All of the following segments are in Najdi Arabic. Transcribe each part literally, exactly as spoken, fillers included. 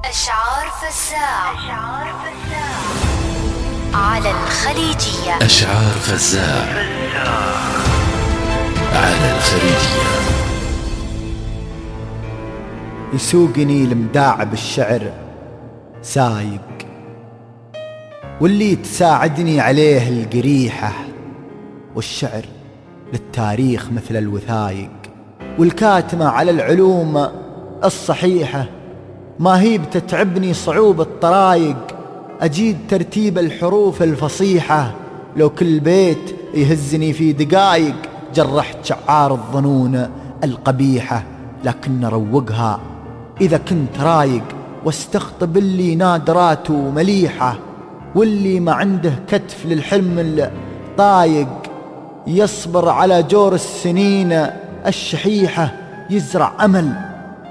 أشعار فزاع على الخليجية. أشعار فزاع على الخليجية. يسوقني المداع بالشعر سايق، واللي تساعدني عليه القريحة، والشعر للتاريخ مثل الوثايق، والكاتمة على العلوم الصحيحة. ما هي بتتعبني صعوبة طرايق، أجيد ترتيب الحروف الفصيحة. لو كل بيت يهزني في دقايق، جرحت شعار الظنون القبيحة. لكن روقها إذا كنت رايق، واستخطب اللي نادراته مليحة، واللي ما عنده كتف للحلم الطايق، يصبر على جور السنين الشحيحة. يزرع أمل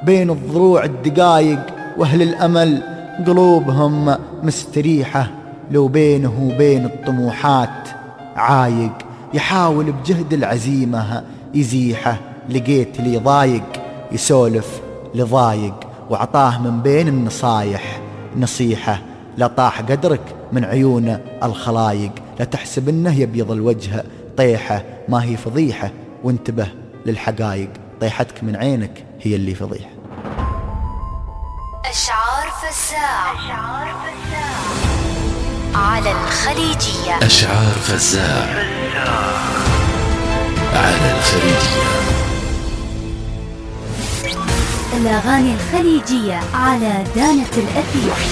بين الضروع الدقايق، وأهل الأمل قلوبهم مستريحة. لو بينه وبين الطموحات عايق، يحاول بجهد العزيمة يزيحه. لقيت لي ضايق يسولف لضايق، وعطاه من بين النصايح نصيحة. لا طاح قدرك من عيون الخلايق، لا تحسب انه يبيض الوجه طيحة. ما هي فضيحة وانتبه للحقايق، طيحتك من عينك هي اللي فضيحة. أشعار فزاع على الخليجية. أشعار فزاع على الخليجية. الأغاني الخليجية على دانة الأثير.